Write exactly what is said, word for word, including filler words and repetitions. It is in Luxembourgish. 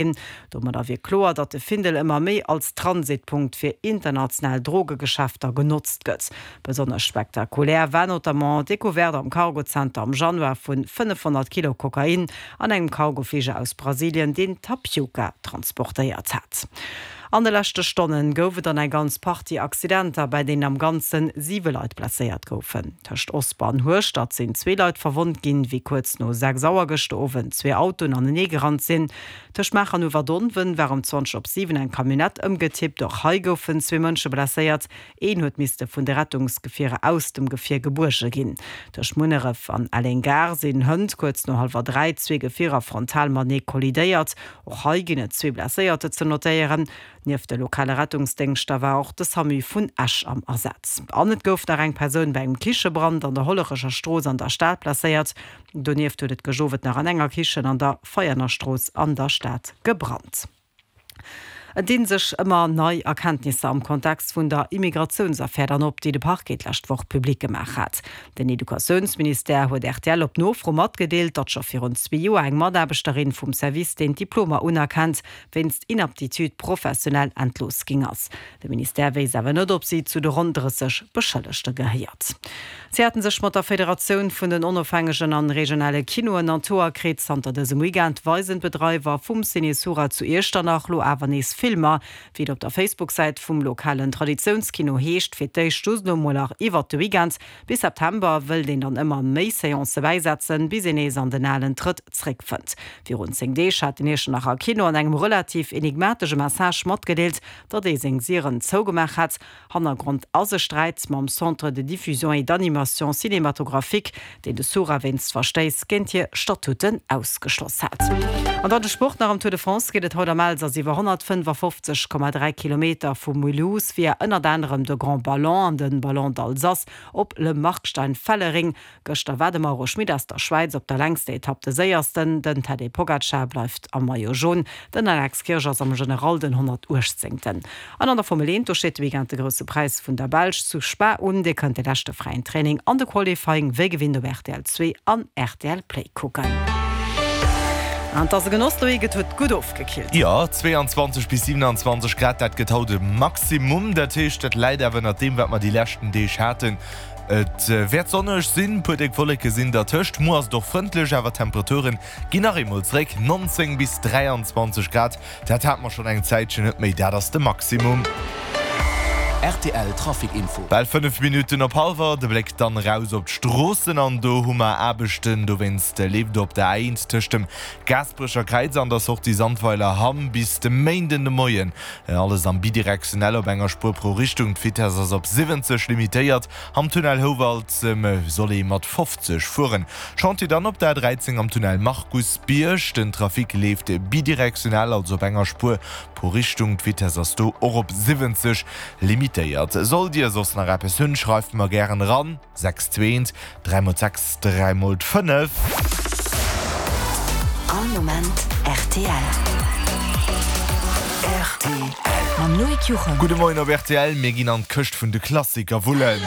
ginn. Domadder wier kloer, datt de Findel ëmmer méi als Transitpunkt fir international Drogegeschäfter genotzt gëtt. Besonnesch spektakulär war notamment d'Decouverte am Cargozenter am Januar vu fënnefhonnert Kilo Kokain an engem Cargofliger aus Brasilien, deen Tapioca transportéiert hat. An de leschte Stonne gouf et dann eng ganz Partie Accidenter, bei deenen am Ganze siwe Leit blesséiert goufen. Tëscht Osper an Hueschtert sinn zwee Leit verwonnt ginn, wéi kuerz no sechs Auer gëschter Owend zwee Autoen anenee gerannt sinn. Tëscht Maacher an Uewerdonwen war ëm zwanzeg op siwen eng Camionnette ëmgetippt. Och hei goufen zwee Mënsche blesséiert. Een huet misste vun de Rettungsgefierer aus dem Gefier gebuerge ginn. Tëscht Munneref an Elleng-Gare sinn hënt kuerz no hallwer dräi zwee Gefierer frontal matenee kollidéiert. Och hei ginn et zwee Blesséierter ze notéieren. Nieft de lokale Rettungsdéngschter war och de Samu vun Esch am Asaz. An et gouf nach eng Persoun bei engem Kichebrand an der Hollerecher Strooss an der Stad blesséiert. Donieft huet et gëscht Owend nach an enger Kichen an der Veianer Strooss an der Stad gebrannt. Et dinn sech ëmmer nei Erkenntnisser am Kontext vun der Immigratiounsaffär dann op, déi de Parquet d'lescht Woch public gemaach hat. Den Educatiounsministère huet rtl op Nofro matgedeelt, datt scho virun zwee Joer eng Mataarbechterin vum Service, deen d'Diplomer unerkennt, wéinst Inaptitude professionnelle entlooss ginn ass. De Ministère wéisst awer net, ob si zu de ronn drësseg Beschëllegte gehéiert. Si haten sech mat der Federatioun vun den onofhängegen an regionale Kinoen an d'Hoer kritt. Zanter dësem Weekend weisen d'Bedreiwer vum Ciné Sura zu Iechternach lo awer nees Filmer. Wéi et op der Facebook-Säit vum lokalen Traditiounskino heescht, fir d'éischt just lo mol nach iwwert de Weekend. Bis September wëllt een dann ëmmer méi Seancë bäisetzen, bis een nees an den alen Trëtt zréckfënnt. Virun zéng Deeg hat den Iechternacher Kino an engem relativ enigmatesche Message matgedeelt, datt ee seng Dieren zougemaach hätt. Hannergrond ass e Sträit mam Centre de diffusion et d'animation cinématographique, deen de Sura wéinst Verstéiss géint hir Statuten ausgeschloss hat. An dann de Sport nach, Am Tour de France geet et haut am Elsass iwwer honnertfënnefafofzeg Komma dräi Kilometer vu Mulhouse via ënnert anerem de Grand Ballon an de Ballon d'Alsace op Le Markstein-Fellering. Gëschter war de Mauro Schmit aus der Schwäiz op der längster Etapp de Séiersten. Den Tadej Pogacar bleift am Maillot Jaune. Den Alex Kirsch ass am General den honnertuechtzéngten. An an der Formel eent, do steet de Weekend de Grousse Präis vun der Belsch zu Spa un. Dir kënnt de leschte fräien Training an de Qualifying wéi gewinnt op rtl zwee an rtl Play kucken. An 't ass e Genoss, Loïc, et huet gutt ofgekillt. Jo, zweeanzwanzeg bis siewenanzwanzeg Grad, dat gëtt haut e Maximum. Dat heescht, dat läit awer ënnert deem, wat mer déi leschten Deeg haten. Et wäert sonneg sinn, puer déck Wolleke sinn dertëscht. Muer ass et och frëndlech, awer d'Temperature ginn nach eemol zeréck, nonzéng bis dräianzwanzeg Grad, dat hate mer schonn eng Zäitchen net méi, dat ass de Maximum. Rtl Trafic Info. Bal fënnef Minutten op hallwer, de Bléck dann eraus op d'Stroossen an do hu mer Aarbechten. Dowéinst leeft op der A eent tëscht dem Gaasperecher Kräiz an der Sortie Sandweiler Hamm bis de Méinden de Moien alles am Bidirektionell op enger Spuer pro Richtung. D'Vitess ass op siwwenzeg limitéiert. Am Tunnel Houwald soll ee mat fofzeg fueren. Chantier dann op der A dräizéng am Tunnel Markusbierg. Den Trafic leeft bidirektional, also op enger Spuer pro Richtung. D'Vitess ass do och op siwwenzeg limitéiert. Sollt Dir soss nach eppes hunn, schreift mer gären eran, sechs zwee eent dräi mol sechs dräi mol fënnef. All Moment rtl. Rtl. Mam Loïc Juchem. Gudde Moien op rtl, mir ginn an d'Këscht vun de Klassiker wullen.